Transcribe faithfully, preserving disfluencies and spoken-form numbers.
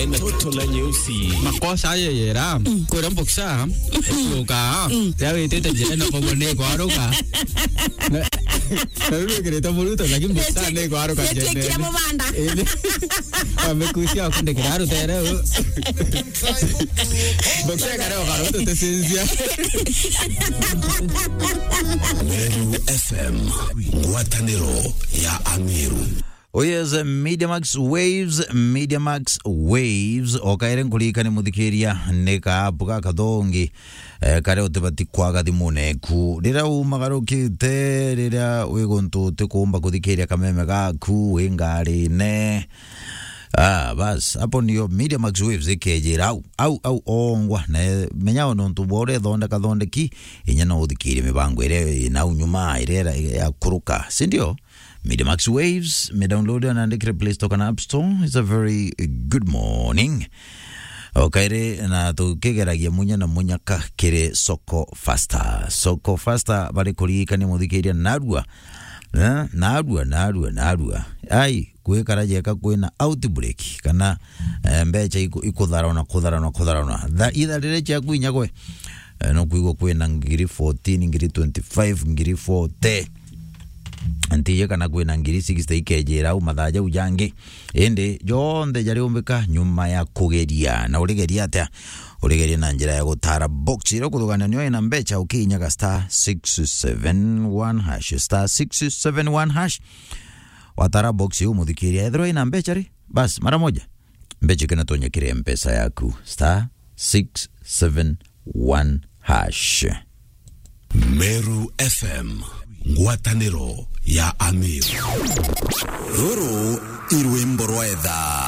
Ina toto na nyeusi. Makosa ayo yera. Kwira mboksa. Kuruka. Ya witite njira na kogo ni kwaruka. Na, na riu wikirite muruto, lakini mboksa ni kwaruka njira. Amekusia kundikira rutere. Mboksa kare okaruto tesinzia. Meru F M, ngwataniro ya Amiru. Oh yes, Media Max Waves, Media Max Waves. O kaire nkuririkanie muthikiria, ni ka app gakathongi, eh, karia utibati kwaga thimune eku. Riria umagarukite, riria wi guntu utikuumba kuthikiria kameme gaku, wi ngarine. Ah, bas, hapo ndio Media Max Waves ikejira au, au, au ongwa. Na, eh, menya o nontu bwa uria ithondeka thondeki, inya no uthikirie mibango iria inau nyuma, iria ya kuruka, si ndio? Media Max Waves, me download na andikire Play Store kana App Store. It's a very good morning. O kairi na tukigeragia munya na munyaka kiri Soko Faster. Soko Faster bari kuririkania muthikiria narua. Eh? Narua, narua, narua. Ai, gwikara jeka kwina outbreak kana, eh, mbecha iku-, ikutharona, kutharona, kutharona. Tha-, itha riria ciaku inya gwe, eh, no kwigua kwina ngiri fourteen, ngiri twenty-five, ngiri forty. Ntiji kana kwina ngiri sixty ikejira au mathaa jau jangi. Indi jonthe jariumbika nyuma ya kugeria. Na urigeria atia? Urigeria na njira ya gutara box iria ukuthugania nio ina mbecha ukiinyaga star six seven one hash, star six seven one hash. Watara box iu muthikiria, ethirwa ina mbecha ri, bas, mara moja. Mbecha ikinatonya kiri M-Pesa yaku, star six seven one hash. Meru F M, ngwataniro ya Amiru. Ruru i rwimbo rwa etha.